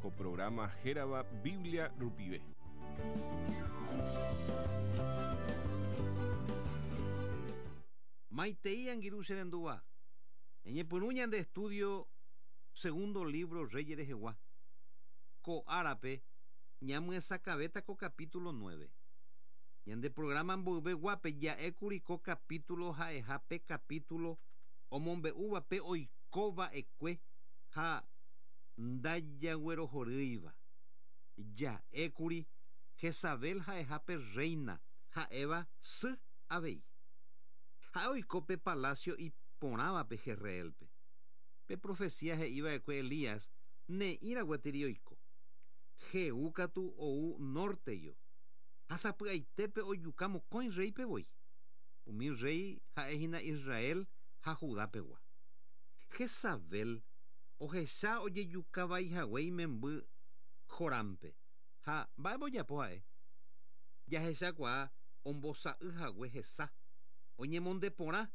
Ko programa hérava Biblia rupive. Maitei angirũ che rendúva. Ñañepyrũ ñande estudio segundo libro Reyes rehegua. Ko árape ñamyesakãvéta ko capítulo 9. Ñande programa mboyve guápe ja'ékuri ko capítulo ha'eha pe capítulo omombe'úva pe oikova'ekue ha ndajaguerohorýiva. Ja'ékuri Jezabel ha'eha pe rréina ha'éva sy avei. Ha'e oiko pe palásio iporãvape Jezreélpe. Pe profesía he'iva'ekue Elías ne'ĩra gueteri oiko. Jehú katu ou nórteyo, ha sapy'aitépe ojuka mokõi rréipe voi. Umi rréi ha'e hína Israel ha Judá pegua. Jezabel ohecha ojejuka vai hague imemby Jorámpe. Ha mba'épa ojapo ha'e? Jahechakuaa ombosa'y hague hesa, oñemonde porã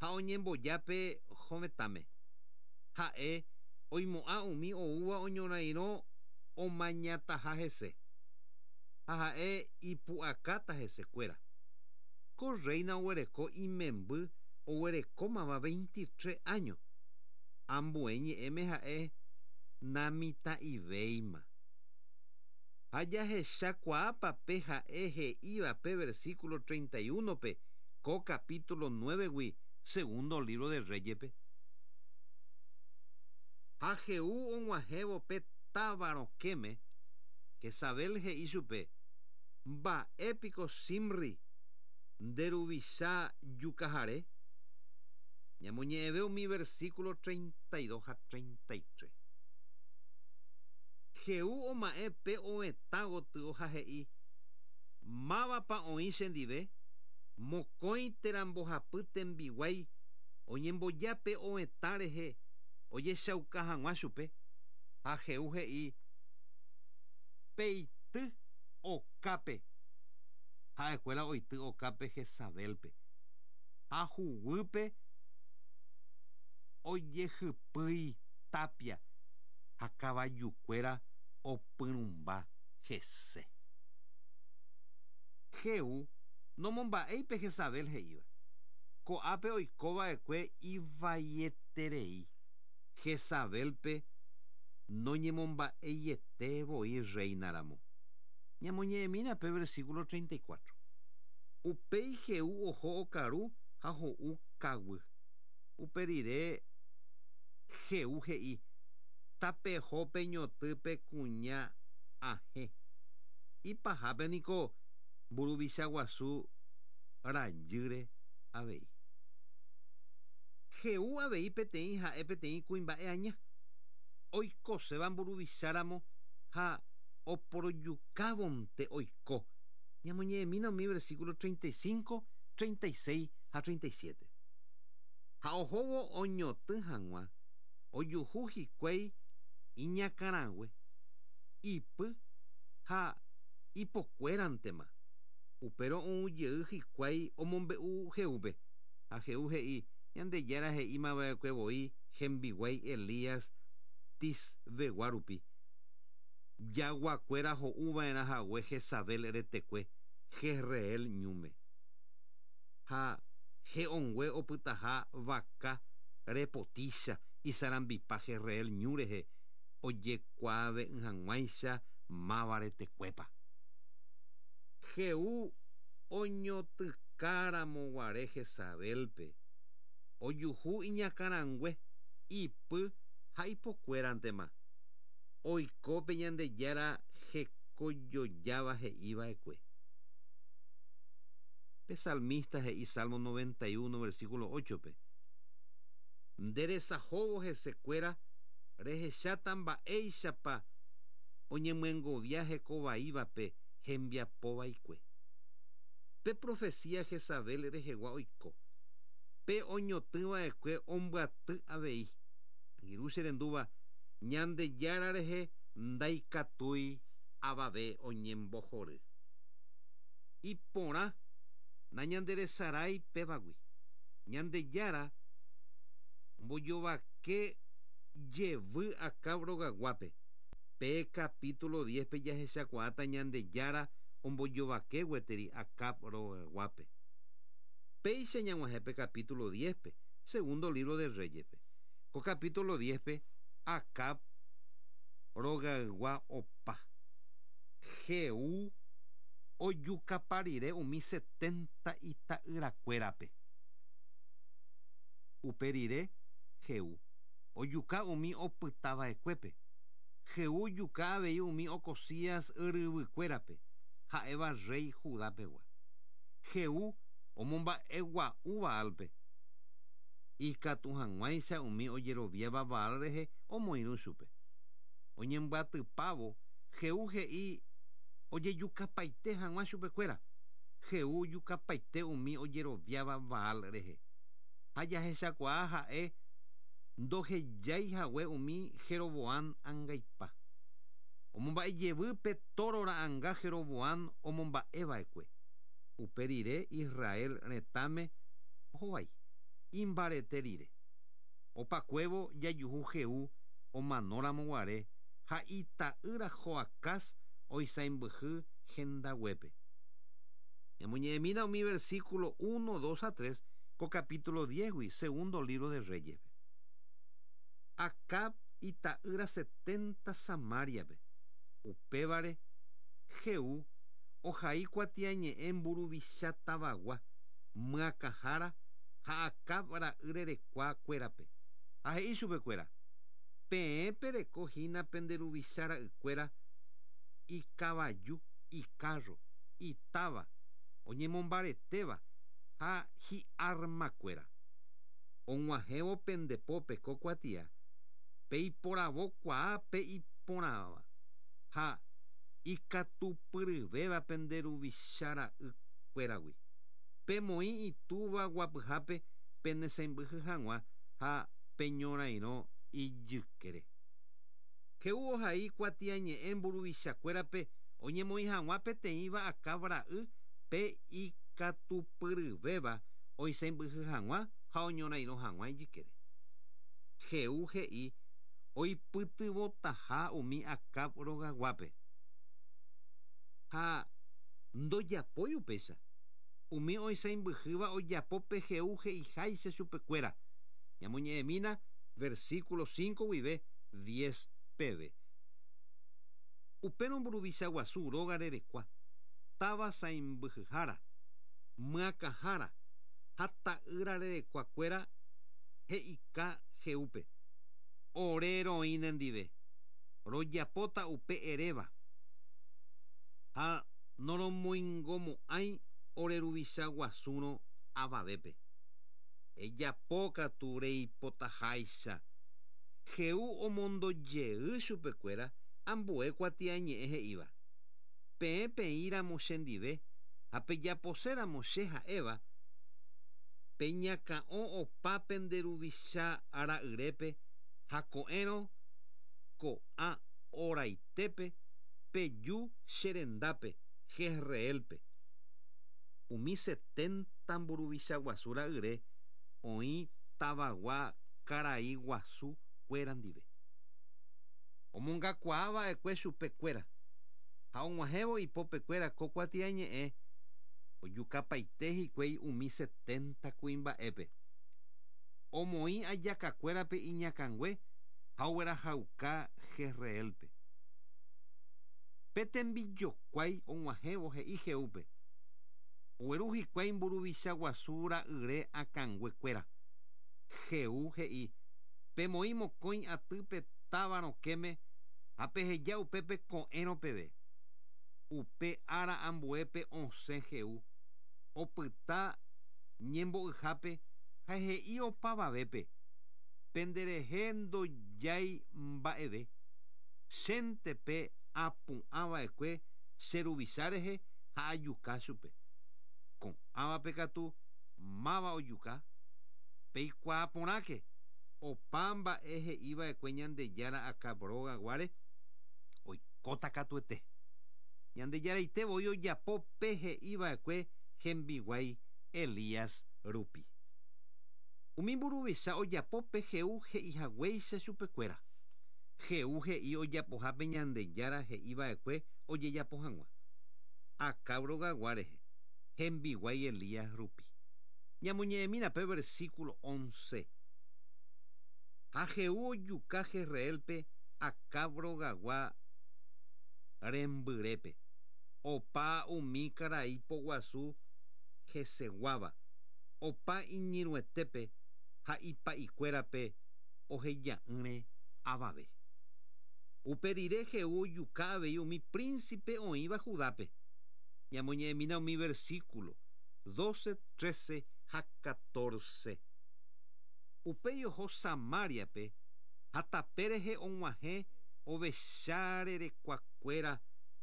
ha oñemboja pe hovetãme. Ha'e oimo'ã umi oúva oñorairõ omañataha hese, ha ha'e ipu'akáta hesekuéra. Ko rréina oguereko imemby oguerekómava veintitrés áño, ambue ñe'ẽme ha'e namitã'ivéima. Ha jahechakuaápa pe ha'e he'íva pe versículo 31-pe ko capítulo 9-gui segundo libro de Reyes-pe? Ha Jehú og̃uahẽvo pe táva rokẽme, Jezabel he'i chupe, Mba'e piko Zimri, nde ruvicha jukahare? Ñamoñe'ẽve umi versículo 32 ha 33. Jehú oma'ẽ pe ovetã gotyo ha he'i, Mávapa oĩ chendive? Mokõi térã mbohapy tembiguái oñemboja pe ovetã rehe ojechauka hag̃ua chupe. Ha Jehú he'i, Peity okápe. Ha'ekuéra oity okápe Jezabélpe, ha huguýpe ojehypýi tápia ha kavajukuéra opyrũmba hese. Jehú nomomba'éi pe Jezabel he'íva. Ko'ápe oiko va'ekue ivaieterei. Jezabélpe noñemomba'eiete voi rréina ramo. Ñamoñe'ẽmína pe versículo 34. Upéi Jehú oho okaru ha ho'u kaguy. Upe rire Jehú he'i, Tapeho peñoty pe kuña ahẽ. Ipahápe niko mburuvicha guasu rajýre avei. Jehú avei peteĩ ha'e peteĩ kuimba'e aña, oikoséva mburuvicha ramo ha oporojukávonte oiko. Ñamoñe'ẽmína umi versículo 35, 36 ha 37. Ha ohóvo oñotỹ hag̃ua, ojuhu hikuái iñakãrague, ipy ha ipokuérantema. Upérõ ou jey hikuái omombe'u Jehúpe. Ha Jehú he'i, Ñandejára he'íma va'ekue voi hembiguái Elías Tisbegua rupi, jaguakuéra ho'u va'erã hague Jezabel retekue Jezreel ñúme. Ha he'õngue opytaha vaka repotícha isarambipa Jezreel ñu rehe ojekuaave'ỹ hag̃uáicha máva retekuépa. Jehú oñotỹka ramo guare Jezabélpe, ojuhu iñakãrangue, ipy ha ipokuérantema. Oiko pe Ñandejára hekojojáva he'i va'ekue. Pe salmista he'i Salmo 91 versículo 8-pe, Nde resahóvo hesekuéra rehecháta mba'éichapa oñemyengovia heko vaívape hembiapo vaikue. Pe profesía Jezabel rehegua oiko. Pe oñotỹ va'ekue ombyaty avei. Angirũ che rendúva, Ñandejára rehe ndaikatúi avave oñembohory. Iporã nañanderesarái pévagui. Ñandejára ombojovake jevy Acab rogaguápe. Pe capítulo 10-pe jahechakuaáta Ñandejára ombojovake gueteri Acab rogaguápe. Péicha ñag̃uahẽ pe capítulo 10-pe, segundo libro de Reyes-pe. Ko capítulo 10-pe Acab rogaygua opa. Jehú ojukapa rire umi setenta ita'yrakuérape. Upe rire Jehú ojuka umi opytava'ekuépe. Jehú ojuka avei umi Ocozías ryvykuérape, ha'éva rréi Judá pegua. Jehú omomba'egua'u Baálpe, ikatu hag̃uáicha umi ojeroviáva Baal rehe omoirũ chupe. Oñembyatypávo, Jehú he'i ojejukapaite hag̃ua chupekuéra. Jehú ojukapaite umi ojeroviáva Baal rehe. Ha jahechakuaa ha'e ndohejái hague umi Jeroboán angaipa. Omomba'e jevy pe tóro ra'anga Jeroboán omomba'e va'ekue. Upe rire Israel retãme ohovái, imbarete rire. Opakuévo jajuhu Jehú omanóramo guare ha ita'ýra Joacaz oisãimbyhy hendaguépe. Ñamoñe'ẽmína umi versículo uno, dos ha tres ko capítulo diez-gui, segundo libro de Reyes-pe. Acab ita'ýra setenta Samaria-pe. Upévare, Jehú ohai kuatiañe'ẽ mburuvicha tavagua, myakãhára ha Acab ra'y rerekua kuérape, ha he'i chupe kuéra, Peẽ pereko hína pende ruvicha ra'ykuéra ikavaju, ikárro, itáva, oñemombaretéva ha hi'armakuéra. Og̃uahẽvo pende pópe ko kuatia, peiporavo kuaa pe iporãva ha ikatupyryvéva pende ruvicha ra'y kuéragui. Pemoĩ itúva guapyhápe pene sãimbyhy hag̃ua ha peñorairõ ijykére. Jehú ohai kuatiañe'ẽ mburuvicha kuérape oñemoĩ hag̃ua peteĩva Acab ra'y pe ikatupyryvéva oisãimbyhy hag̃ua ha oñorairõ hag̃ua ijykére. Jehú he'i oipytyvõtaha umi Acab rogaguápe. Ha ndojapói upéicha. Umi oisãimbyhýva ojapo pe Jehú he'iháicha chupekuéra. Ñamoñe'ẽmína versículo cinco guive diez peve. Upérõ mburuvicha guasu róga rerekua, táva sãimbyhyhára, myakãhára ha ta'ýra rerekua kuéra he'ika Jehúpe, Ore roĩ nendive, rojapóta upe eréva, ha noromoingomo'ãi ore ruvicha guasúrõ avavépe. Ejapo katu reipotaháicha. Jehú omondo jey chupekuéra ambue kuatiañe'ẽ he'íva, Peẽ peĩ ramo chendive ha pejapose ramo che ha'éva, peñakã'o opa pende ruvicha ra'yrépe ha ko'ẽrõ ko'ã oraitépe peju che rendápe Jezreélpe. Umi setenta mburuvicha guasu ra'yre oĩ tavagua karai guasu kuéra ndive. Omongakuaa va'ekue chupe kuéra, ha og̃uahẽvo ipópe kuéra ko kuatiañe'ẽ ojukapaite hikuái umi setenta kuimba'épe. Omoĩ ajaka kuérape iñakãngue ha oguerahauka Jezreélpe. Pe tembijokuái og̃uahẽvo he'i Jehúpe, Ogueru hikuái mburuvicha guasu ra'yre akãngue kuéra. Jehú he'i, Pemoĩ mokõi aty pe táva rokẽme ha peheja upépe ko'ẽrõ peve. Upe ára ambuépe osẽ Jehú, opyta ñembo'yhápe ha he'i opavavépe, Pende rehe ndojái mba'eve, chénte pe apu'ã va'ekue che ruvicha rehe ha ajuka chupe. Ko'ãvape katu máva ojuka? Peikuaa porãke, opa mba'e he'i va'ekue Ñandejára Acab róga guáre, oikóta katuete. Ñandejaraite voi ojapo pe he'i va'ekue hembiguái Elías rupi. Umi mburuvicha ojapo pe Jehú he'i haguéicha chupekuéra. Jehú he'i ojapohápe Ñandejára he'iva'ekue ojejapo hag̃ua. Acab rogagua rehe, hembiguái Elías rupi. Ñamoñe'ẽmína pe versículo 11. Ha Jehú ojuka Jezreélpe Acab rogagua rembyrépe. Opa umi karai poguasu heseguáva, opa iñirũetépe ha ipa'ikuérape oheja'ỹre avave. Upe rire Jehú ojuka avei umi príncipe oĩva Judápe. Ñamoñe'ẽmína umi versículo 12, 13 ha 14. Upéi oho Samáriape ha tape rehe og̃uahẽ ovecha rerekuakuéra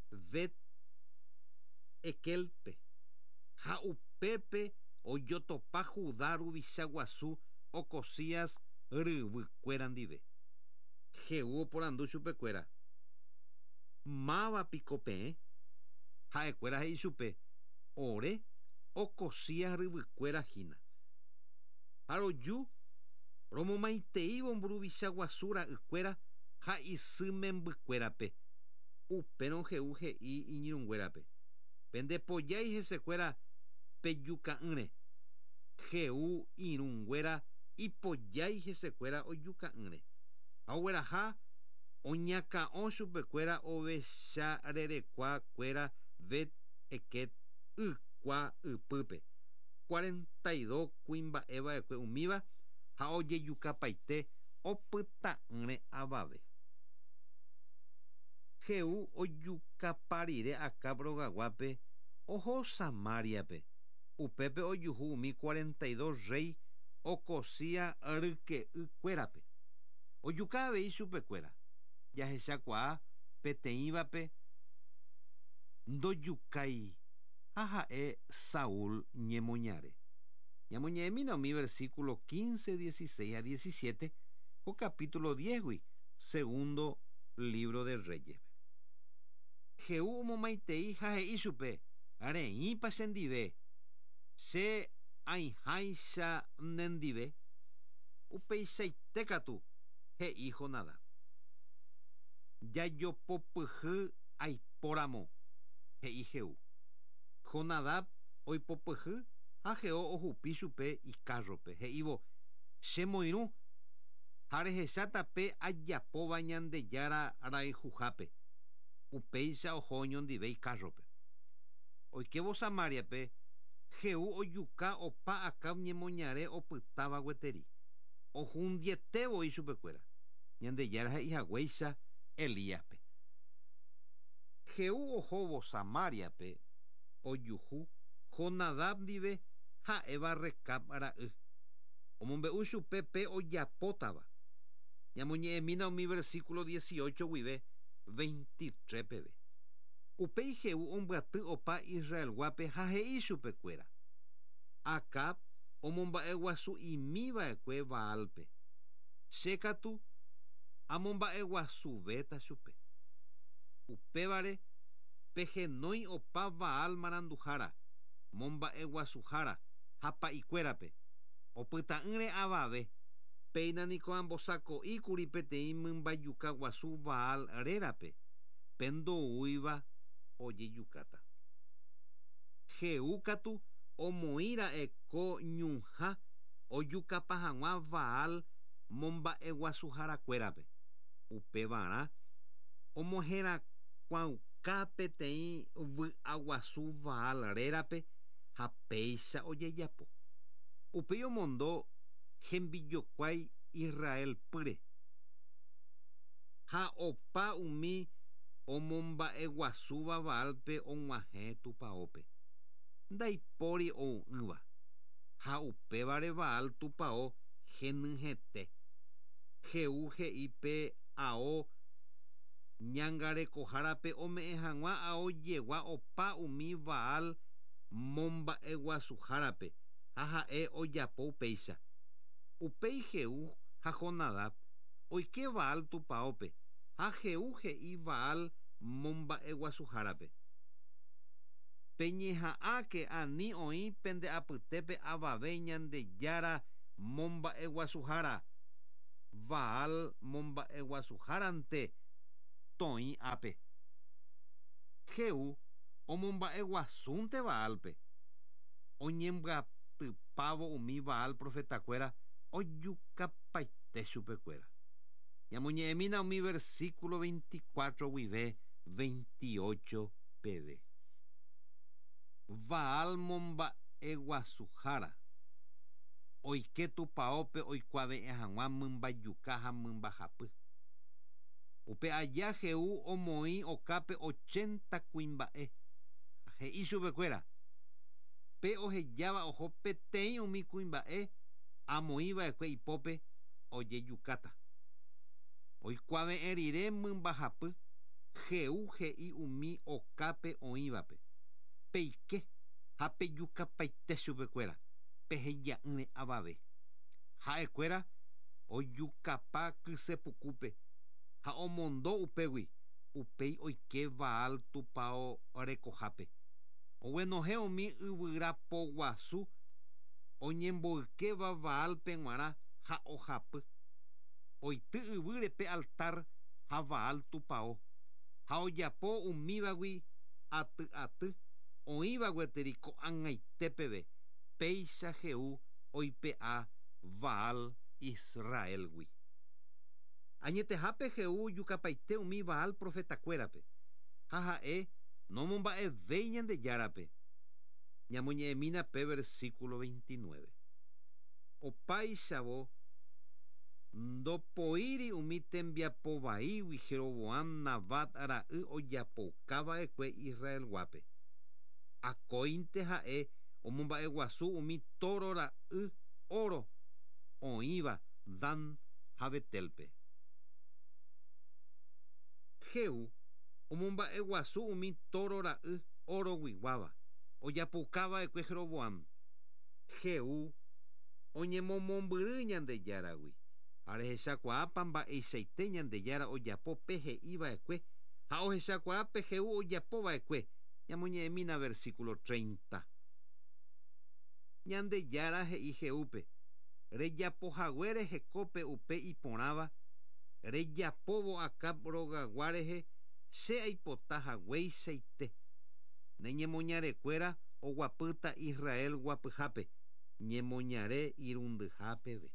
Bet Ekelpe ha upépe ojotopa Judá ruvicha guasu Ocozías ryvykuéra ndive. Jehú oporandu chupekuéra: Máva piko peẽ? Ha'ekuéra he'i chupe: Ore Ocozías ryvykuéra hína. Ha roju romomaiteívo mburuvicha guasu ra'ykuéra ha isy membykuérape. Upérõ Jehú he'i iñirũnguérape: Pendepojái hesekuéra pejuka'ỹre. Jehú irũnguéra ipojái hesekuéra ojuka'ỹre. Ha ogueraha oñakã'o chupekuéra ovecha rerekua kuéra Bet Eked ykua ypýpe. 42 kuimba'e va'ekue umíva ha ojejukapaite opyta'ỹre avave. Jehú ojukapa rire Acab rogaguápe oho Samáriape. Upépe ojuhu umi 42 rréi Ocozías ryke'ykuérape. Ojuka avei chupekuéra. Jahechakuaa peteĩvape ndojukái ha ha'e Saúl ñemoñare. Ñamoñe'ẽmína umi versículo 15, 16 ha 17 ko capítulo 10-gui, segundo libro de Reyes-pe. Jehú omomaitei ha he'i chupe: Reĩpa chendive, che aĩháicha nendive? Upeichaite katu, he'i Jonadab. Jajopopyhy aipóramo, he'i Jehú. Jonadab oipopyhy ha Jehú ohupi chupe ikárrope, he'ívo: Che moirũ ha rehecháta pe ajapóva Ñandejára rayhuhápe. Upéicha oho oñondive ikárrope. Oikévo Samáriape, Jehú ojuka opa Acab ñemoñare opytáva gueteri. Ohundiete voi chupekuéra, Ñandejára he'i haguéicha Elíaspe. Jehú ohóvo Samáriape ojuhu Jonadab ndive ha'éva Recab ra'y. Omombe'u chupe pe ojapótava. Ñamoñe'ẽmína umi versículo 18 guive 23 peve. Upéi Jehú ombyaty opa Israelguápe ha he'i chupekuéra: Acab omomba'eguasu'imi va'ekue Baálpe. Che katu amomba'eguasuvéta chupe. Upévare pehenói opa Baal maranduhára, momba'eguasuhára ha pa'ikuérape, opyta'ỹre avave. Péina niko ambosako'íkuri peteĩ mymbajuka guasu Baal rérape, pe ndoúiva ojejukáta. Jehú katu omoĩra'e ko ñuhã ojukapa hag̃ua Baal momba'eguasuharakuérape. Upevarã omoherakuãuka peteĩ vy'aguasu Baal rérape ha péicha ojejapo. Upéi omondo hembijokuái Israel pýre. Ha opa umi omomba'eguasúva Baálpe og̃uahẽ tupaópe. Ndaipóri ou'ỹva, ha upévare Baal tupao henyhẽte. Jehú he'i pe ao ñangarekohárape ome'ẽ hag̃ua ao jegua opa umi Baal momba'eguasuhárape ha ha'e ojapo upéicha. Upéi Jehú ha Jonadab oike Baal tupaópe ha Jehú he'i Baal momba'eguasuhárape: Peñeha'ãke ani oĩ pende apytépe avave Ñandejára momba'eguasuhára. Baal momba'eguasuhárante toĩ ápe. Jehú omomba'eguasúnte Baálpe. Oñembyatypávo umi Baal profetakuéra ojukapaite chupekuéra. Ñamoñe'ẽmína umi versículo 24 guive 28 peve. Baal momba'eguasuhára oike tupaópe oikuave'ẽ hag̃ua mymbajuka ha mymbahapy. Upe aja Jehú omoĩ okápe 80 kuimba'e. He'i chupekuéra: Pe ohejáva oho peteĩ umi kuimba'e amoĩva'ekue ipópe ojejukáta. Oikuave'ẽ rire mymbahapy, Jehú he'i umi okápe oĩvape: Peike ha pejukapaite chupekuéra, peheja'ỹre avave. Ha'ekuéra ojukapa kysepukúpe ha omondo upégui, upéi oike Baal tupao rekohápe. Oguenohẽ umi yvyra poguasu oñemboykéva Baálpe g̃uarã ha ohapy. Oity yvýre pe altar ha Baal tupao, ha ojapo umívagui aty aty oĩva gueteri ko'ag̃aite peve, péicha Jehú oipe'a Baal Israélgui. Añetehápe Jehú ojukapaite umi Baal profetakuérape, ha ha'e nomomba'evéi Ñandejárape. Ñamoñe'ẽmína pe versículo 29. Opáichavo ndopoíri umi tembiapo vaígui Jeroboam Nabat ra'y ojapoukava'ekue Israelguápe. Akóinte ha'e omomba'eguasu umi tóro ra'y óro oĩva Dan ha Betelpe. Jehú omomba'eguasu umi tóro ra'y oroguiguáva ojapoukava'ekue Jeroboam. Jehú oñemomombyry Ñandejáragui. Ha rehechakuaápa mba'eichaite Ñandejára ojapo pe he'iva'ekue ha ohechakuaa pe Jehú ojapova'ekue. Ñamoñe'ẽmína versículo 30. Ñandejára he'i Jehúpe: Rejapohaguére hekópe upe iporãva, rejapóvo Acab rogagua rehe che aipota hagueichaite. Ne ñemoñarekuéra oguapýta Israel guapyhápe, ñemoñare irundyha peve.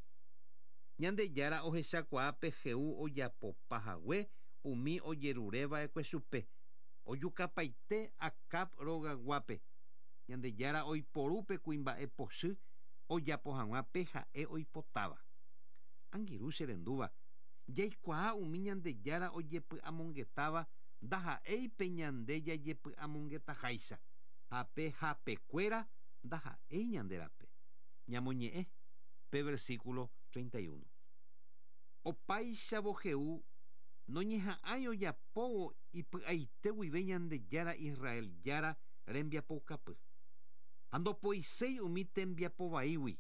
Ñandejára ohechakuaa pe Jehú ojapopa hague umi ojerureva'ekue chupe, ojukapaite Acab rogaguápe. Ñandejára oiporu pe kuimba'e pochy ojapo hag̃ua pe ha'e oipotáva. Angirũ che rendúva, jaikuaa umi Ñandejára ojepy'amongetáva ndaha'éi pe ñande jajepy'amongetaháicha, ha pe hapekuéra ndaha'éi ñande rape. Ñamoñe'ẽ pe versículo 31. Opáichavo Jehú noñeha'ãi ojapóvo ipy'aite guive Ñandejára Israel Jára rembiapoukapy. Ha ndopoiséi umi tembiapo vaígui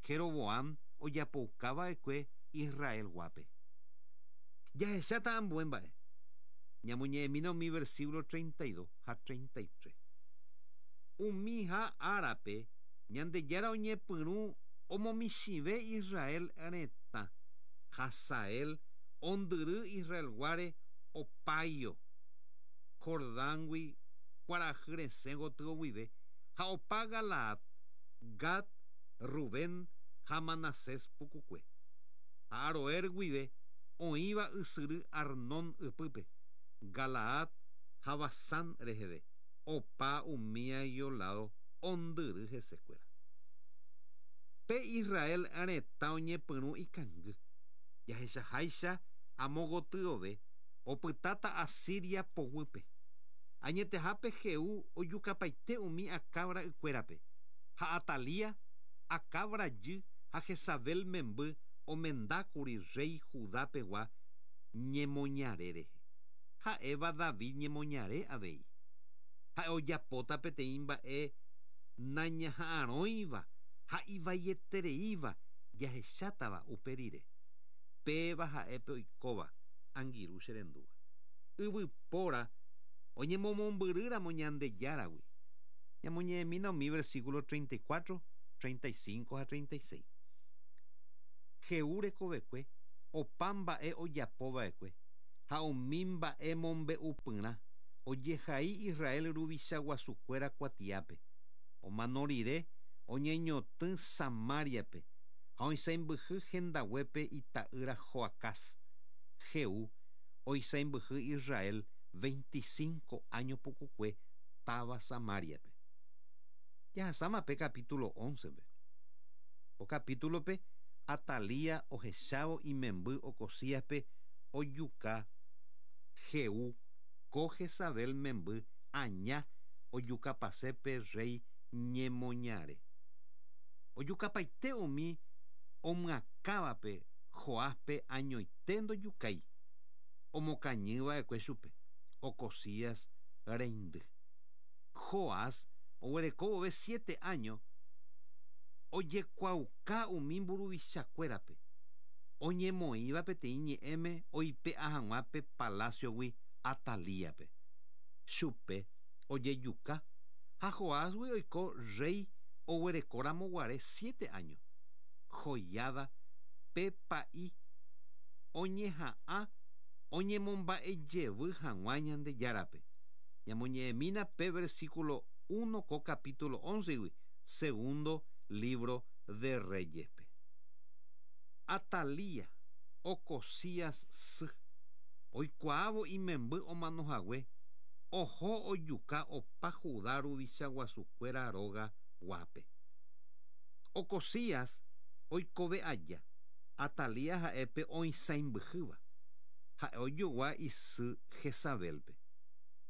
Jeroboam ojapoukava'ekue Israelguápe. Jahecháta ambue mba'e. Ñamoñe'ẽmína umi versículo 32 ha 33. Umiha árape Ñandejára oñepyrũ omomichĩve Israel retã. Hazael ondyry Israelguáre opáio Jordángui kuarahy resẽ gotyo guive ha opa Galaad, Gad, Rubén ha Manasés pukukue. Ha Aroer guive oĩva ysyry Arnón ypýpe, Galaad ha Basán reheve, opa umíaguio ládo ondyry hesekuéra. Pe Israel retã oñepyrũ ikangy. Jahechaháicha amo gotyove opytáta Asiria poguýpe. Añetehápe Jehú ojukapaite umi Acab ra'ykuérape, ha Atalía, Acab rajy ha Jezabel memby omendákuri rréi Judá pegua ñemoñare rehe, ha'éva David ñemoñare avei. Ha'e ojapóta peteĩ mba'e nañaha'arõiva ha ivaietereíva jahechátava upe rire. Péva ha'e pe oikóva, angirũ che rendúva. Yvypóra oñemomombyrýramo Ñandejáragui. Ñamoñe'ẽmína umi versículo 34, 35 ha 36. Jehú rekovekue Opa mba'e ojapova'ekue ha umi mba'e mombe'upyrã ojehai Israel ruvicha guasukuéra kuatiápe. Omano rire oñeñotỹ Samáriape ha oisãimbyhy hendaguépe ita'ýra Joacaz. Jehú oisãimbyhy Israel 25 áño pukukue táva Samáriape. Jahasáma pe capítulo 11-pe. Ko capítulo-pe Atalía ohechávo imemby Ocozíaspe ojuka Jehú ko Jezabel memby aña ojukapase pe rréi ñemoñare. Ojukapaite umi omyakãvape Joáspe añoite ndojukái, omokañyva'ekue chupe, Ocozías reindy. Joás oguereko vove siete áño ojekuaauka umi mburuvichakuérape, oñemoĩva peteĩ ñe'ẽme oipe'a hag̃ua pe palásiogui Atalíape. Chupe ojejuka ha Joásgui oiko rréi oguerekóramo guare siete áño. Joiada pe pa'i oñeha'ã oñemomba'e jevy hag̃ua Ñandejárape. Ñamoñe'ẽmína pe versículo uno ko capítulo óncegui segundo lívro de Reyes-pe. Atalía, Ocozías sy, oikuaávo imemby omano hague, oho ojuka opa Judá ruvicha guasukuéra róga guápe. Ocozías oikove aja, Atalía ha'e pe oisãimbyhýva. Ha'e ojogua isy Jezabélpe.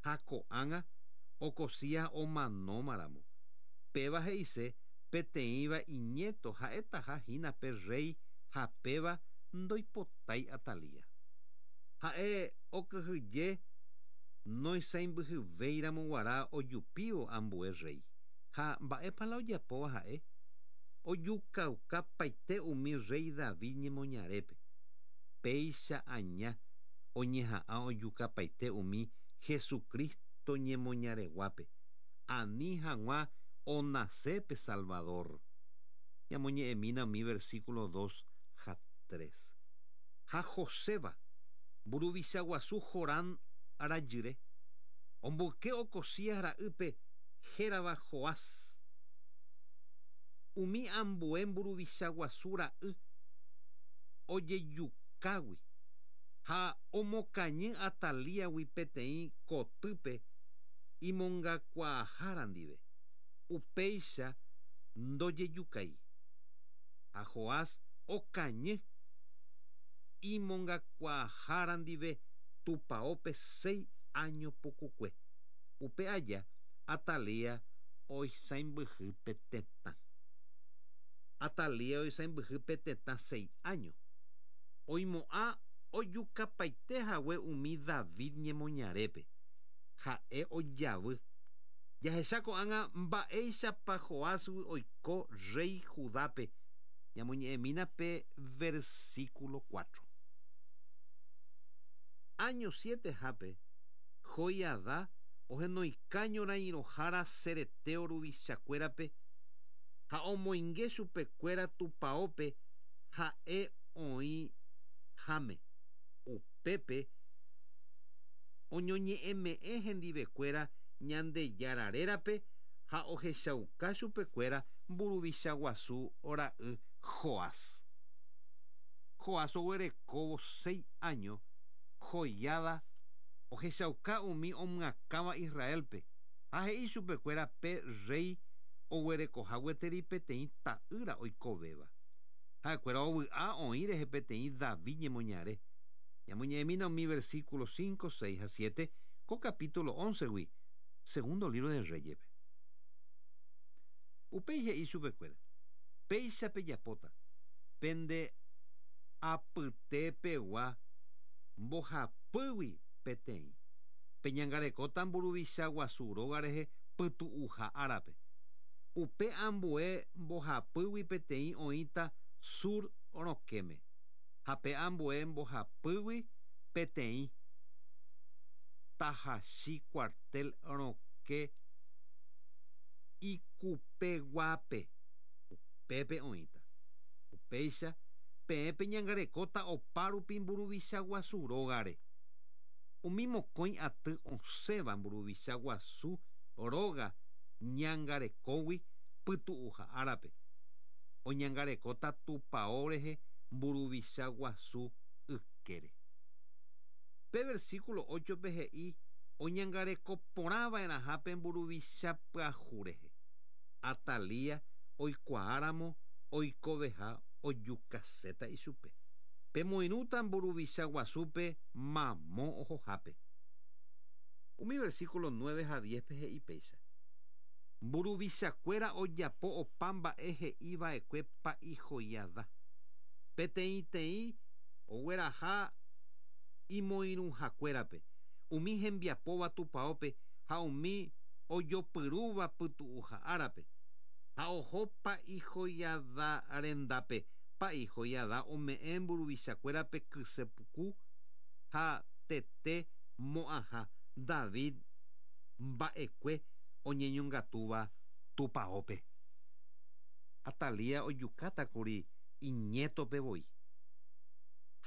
Ha ko'ág̃a Ocozías omanóma ramo, péva he'ise peteĩva iñéto ha'etaha hína pe rréi ha péva ndoipotái Atalía. Ha'e okyhyje noisãimbyhyvéiramo guarã ojupívo ambue rréi. Ha mba'épa la ojapóva ha'e? Ojukauka paite umi rréi David ñemoñarépe. Péicha aña oñeha'ã ojukapaite umi Jesucristo ñemoñareguápe, ani hag̃ua onase pe Salvador. Ñamoñe'ẽmína umi versículo dos ha tres. Ha Joseba, mburuvicha guasu Jorán rajyre, omboyke Ocozías ra'ýpe hérava Joás. Umi ambue mburuvicha guasu ra'y ojejukágui ha omokañy Atalíagui peteĩ kotýpe imongakuaahára ndive, upéicha ndojejukái. Ha Joás okañy imongakuaahára ndive tupaópe seis áño pukukue. Upe aja Atalía oisãimbyhy pe tetã. Atalía oisãimbyhy pe tetã seis áño. Oimo'ã ojukapaite hague umi David ñemoñarépe. Ha'e ojavy. Jahecha ko'ág̃a mba'éichapa Joásgui oiko rréi Judápe. Ñamoñe'ẽmína pe versíkulo cuatro. Áño sietehápe, Joiadá ohenoika ñorairõhára Cereteo ruvichakuérape ha omoinge chupekuéra tupaópe ha'e oĩháme. Upépe oñoñe'ẽme'ẽ hendivekuéra Ñandejára rérape ha ohechauka chupekuéra mburuvicha guasu ra'y Joás. Joás oguerekóvo seis áño, Joiada ohechauka umi omyakãva Israélpe ha he'i chupekuéra pe rréi oguerekoha gueteri peteĩ ta'ýra oikovéva. Ha'ekuéra ovy'a oĩ rehe peteĩ David ñemoñare. Ñamoñe'ẽmína umi versículo cinco, seis ha siete ko capítulo óncegui, Segundo lívro de Reyes-pe. Upéi he'i chupekuéra, Péicha pejapóta, pende apytepegua mbohapýgui peteĩ. Peñangarekóta mburuvicha guasu róga rehe pytu'uha árape. Upe ambue mbohapýgui peteĩ oĩta sur rokẽme, ha pe ambue mbohapýgui peteĩ tahachi cuartel rokẽ ikupeguápe, upépe oĩta. Upéicha, Peẽ peñangarekóta opárupi mburuvicha guasu rógare. Umi mokõi aty osẽva mburuvicha guasu róga ñangarekógui pytu'uha árape. Oñangarekóta tupão rehe mburuvicha guasu ykére. Pe versículo 8-pe he'i oñangareko porãva'erãha pe mburuvicha pyahu rehe. Atalía oikuaáramo oikoveha ojukaséta ichupe. Pemoirũta mburuvicha guasúpe mamo ohohápe. Umi versículo 9 ha 10-pe he'i péicha. Mburuvichakuéra ojapo opa mba'e he'iva'ekue pa'i Joiada. Peteĩteĩ ogueraha imoirũhakuérape, umi hembiapóva tupãópe ha umi ojopyrúva pytu'uha árape. Ha oho pa'i Joiada rendápe, pa'i Joiada ome'ẽ mburuvichakuérape kysepuku ha tete mo'ãha David mba'ekue oñeñongatúva tupãópe. Atalía ojukátakuri iñétope voi.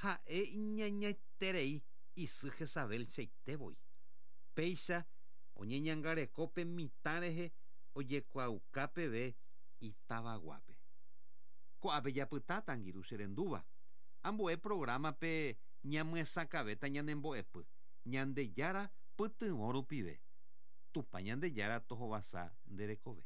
Ha'e iñañaiterei isy Jezabel cheite voi. Péicha oñeñangareko pe mitã rehe ojekuaauka peve itavaguápe. Ko'ápe japytáta angirũ cherendúva. Ambue programa-pe ñamyesakãvéta ñanembo'epy, Ñandejára pytyvõ rupive. Tupã Ñandejára tohovasa nde rekove.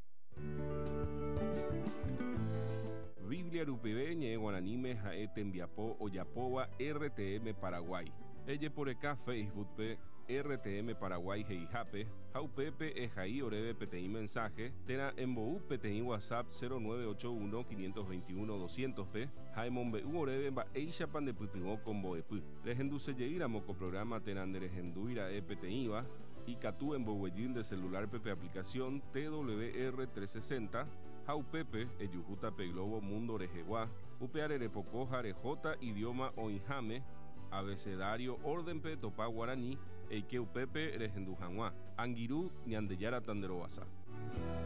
Biblia rupive ñe'ẽ guaraníme ha'e tembiapo ojapóva RTM Paraguay. Ejeporeka Facebook-pe RTM Paraguay he'ihápe ha upépe ehai oréve peteĩ mensaje térã embou peteĩ WhatsApp 0981 521 200-pe ha emombe'u oréve mba'éichapa ndepytyvõ ko mbo'epy. Rehendusejeýramo ko programa térã nderehendúira'e peteĩva, ikatu emboguejy nde celular-pe pe aplicación TWR 360 ha upépe ejuhúta pe globo mundo rehegua, upeare repoko ha rehóta idioma oĩháme, abecedario orden-pe topa guarani, eike upépe rehendu hag̃ua. Angirũ, Ñandejára tanderovasa.